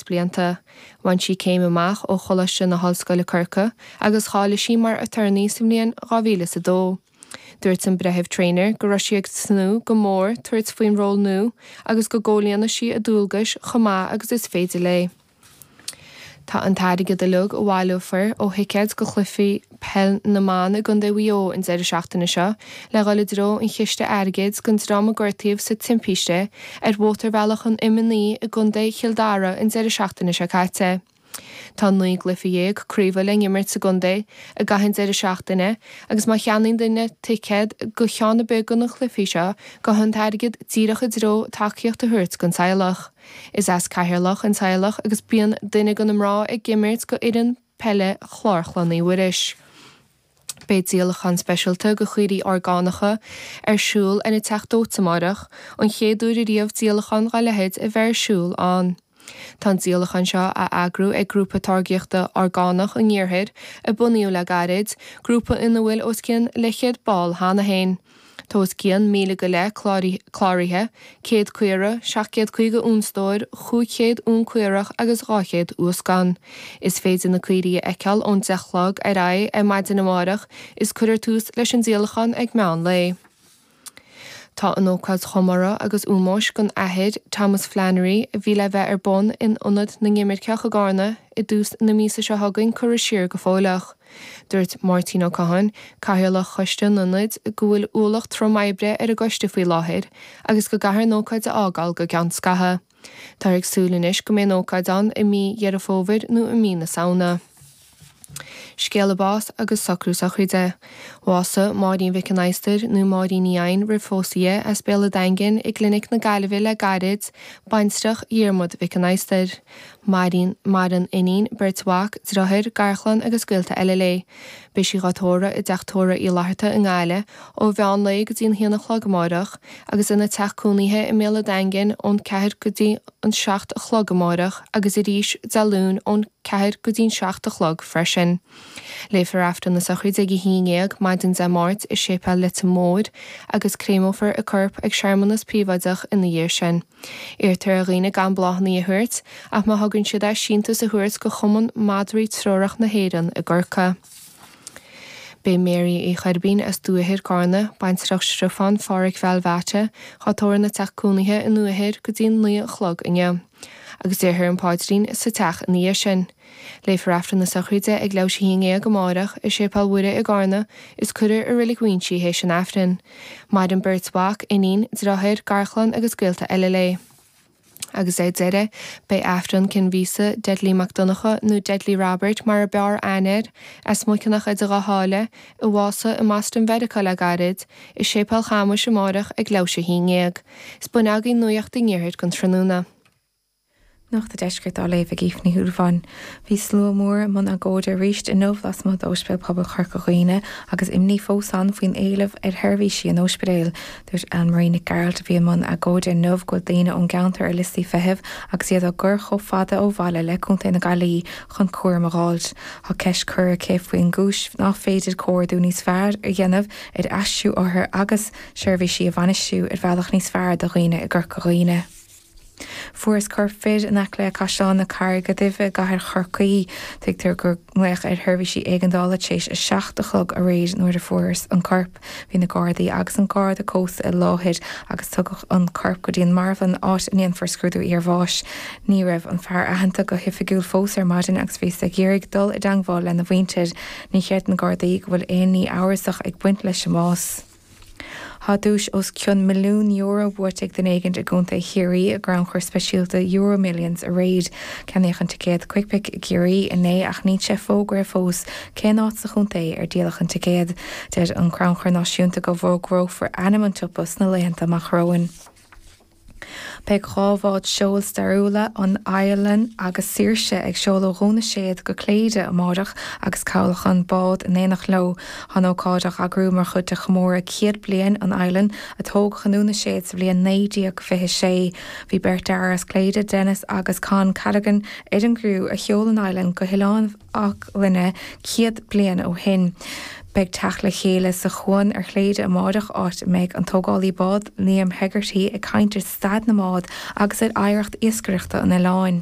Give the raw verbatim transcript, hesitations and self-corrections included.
blianta. Bhain sí céim amach ó Choláiste na hOllscoile Corcaigh agus cháiligh sí mar aturnae sa mbliain dhá mhíle is a dó. Dúirt an Breitheamh Traynor go raibh sí ag tnúth go mór tabhairt faoin ról nua agus go gcomhlíonfaidh sí a dualgais chomh maith agus is féidir léi. Tá an t-airgead uilig a bhaileofar ó thicéid go chluichí peil na mban i gContae Mhaigh Eo an deireadh seachtaine seo le dhul i dtreo an chiste airgid don dream a gortaíodh sa timpiste ar mhótarbhealach an M a naoi i gContae Chill Dara an deireadh seachtaine seo caite. Tá naoi gcluiche dhéag craoibhe le n-imirt sa gcontae i gcaitheamh an deireadh seachtaine agus má cheannaíonn duine ticéad go cheann ar bith de na cluichí seo gabhfaidh an t-airgead díreach i dtreo tacaíocht a thabhairt don teaghlach. Is as Ceatharlach an teaghlach agus bíonn duine de na mná ag imirt go fhoireann peile Chlár Chlann Uí Mhuiris. Beidh díolachán speisialta go chaoirigh orgánacha ar siúl ar an Teach Dóite amárach, an chéad uair ariamh díolachán dá leithéid a bheith ar siúl ann. Tá an díolachán seo á eagrú ag Grúpa Táirgíochta Orgánach an Iarthair, a bunaíodh le gairid, grúpa ina bhfuil os cionn leathchéad ball cheana féin. Tá os cionn míle go leith cláraithe, céad caora, seacht gcéad caoga uanstór, chúig chéad uan caorach agus dhá chéad uascán. Is féidir na caoirigh a fheiceáil ón deich a chlog ar aghaidh ar maidin amárach is cuirfear tús leis an díolachán ag meán lae. Tá an ócáid chomórtha agus ómóis don Athair Thomas Flannery a bhí le bheith ar bun in Ionad na nImirceach i gCarna i dtús na míosa seo chugainn curtha siar go fóilleach. Dúirt Máirtín Ó Catháin, Cathaoirleach Choiste an Ionaid, go bhfuil ualach trom oibre ar an gcoiste faoi láthair agus go gcaithfear an ócáid a fhágáil go gceann scaithimh. Táthar ag súil anois go mbeidh an ócáid ann i mí Dheireadh Fómhair nó i mí na Samhna. Scéala bás agus socrú sochraide. Bhásaigh Máirín Mhic an Adhastair, nó Máirín Ní Eidhin roimh phósadh di, as Béal an Daingin i gClinic na Gaillimhe le gairid, baintreach Dhiarmuid Mhic an Adhastair. Maireann iníon, beirt mhac, deartháir, garchlann agus gaolta eile léi. Beidh sí dhá tórramh i dTeach Tórraimh Uí Fhlatharta i nGaillimh ó mheán lae go dtí an haon a chlog amárach agus ina teach cónaithe i mBéal an Daingin ón ceathair go dtí an seacht a chlog amárach agus arís Dé Luain ón ceathair go dtí an seacht a chlog freisin. Léifear Aifreann na sochraide ag a haon dhéag maidin Dé Máirt i Séipéal Leitir Móir agus créamófar a corp ag searmanas príobháideach ina dhiaidh sin. Iarrtar ar dhaoine gan bláthanna a thabhairt ach má thugann siad é síntiús a thabhairt go Chumann Madraí Treorach na hÉireann i gCorcaigh. Beidh Mary Uí Choirbín as Dúiche Carna, baintreach Stiofán Pháraic Bhealbhaite, dhá tórramh ina teach cónaithe i nDúiche go dtí an naoi a chlog inniu. Agus déarfar an paidrín sa teach ina dhiaidh sin. Léifear Aifreann na sochraide ag leathuair théis a haon dhéag amárach i Séipéal Mhuire i gCarna is cuirfear i Reilig Mhuinsí théis an Aifrinn. Maireann beirt mhac, iníon, deartháir, garchlann agus gaolta eile léi. Agus ar deireadh, beidh Aifreann cinn mhíosa Deadly Mac Donncha nó Deadly Robert mar a b'fhearr aithne air, as Muiceanach idir Dhá Sháile, a bhásaigh i mBoston Mheiriceá le gairid, i Séipéal Chamuis amárach ag leathuair théis a haon dhéag. Is b'in agaibh nuacht an iarthair don tráthnóna. Nuacht an Deiscirt á léamh ag Aoife Ní Shúilleabháin. Bhí slua mór i mbun agóide arís inniu lasmuigh d'Ospidéal Pobail Chorca Dhuibhne agus imní fós ann faoin éileamh ar sheirbhísí an ospidéil. Dúirt Anne Marie Nic Gearailt a bhí i mbun agóide inniu go bhfuil daoine ón gceantar ar liostaí feithimh agus iad á gcur chomh fada ó bhaile le Contae na Gaillimhe chun cúram a dh'fháilt. Tá ceist curtha aici faoin gcúis nach féidir comhordú níos fearr a dhéanamh ar aistriú othar agus seirbhísí a bhainistiú ar bhealach níos fearr do dhaoine i gCorca Dhuibhne. Fuarthas corp fir in aice le Caisleán na Carraige Duibhe i gcathair Chorcaí. Tuigtear gur glaodh ar sheirbhísí éigeandála tar éis a seacht a chlog aréir nuair a fuarthas an corp. Bhí na Gardaí agus an Garda Cósta i láthair agus tugadh an corp go dtí an marbhlann áit a ndéanfar scrúdú iarbháis. Ní raibh an fear aitheanta go hoifigiúil fós ar maidin agus bhíothas ag iarraidh dul i dteangmháil lena mhuintir. Ní chreideann Gardaí go bhfuil aon ní amhrasach ag baint leis an mbás. Tá duais os cionn milliún euro buaite ag duine éigin i gContae Chiarraí i gcrannchur speisialta EuroMillions aréir. Ceannaíodh an ticéad Quickpick i gCiarraí inné ach níl sé fógartha fós cén áit sa chontae ar díoladh an ticéad. Deir an Crannchur Náisiúnta go bhfógrófar ainm an tsiopa sna laethanta amach romhainn. Beidh dhá bhád seoil stairiúla, an Eilean agus Saoirse, ag seoladh ó Dhún na Séad go Cléire amárach agus cabhlach an bád in éineacht leo. Tá an ócáid á eagrú mar chuid de chomóradh céad bliain an Eilean, a tógadh i nDún na Séad sa bhliain naoi déag fiche sé. Bhí beirt fhear as Cléire, Denis agus Con Callaghan, ar an gcriú a sheol an Eilean go hOileán Fhathchoille céad bliain ó shin. Beidh teacht le chéile sa chuan ar Chléire amáireach, áit a mbeidh an tógálaí bád, Liam Hegarty, ag caint ar staid na mbád agus ar oidhreacht iascaireachta an oileáin.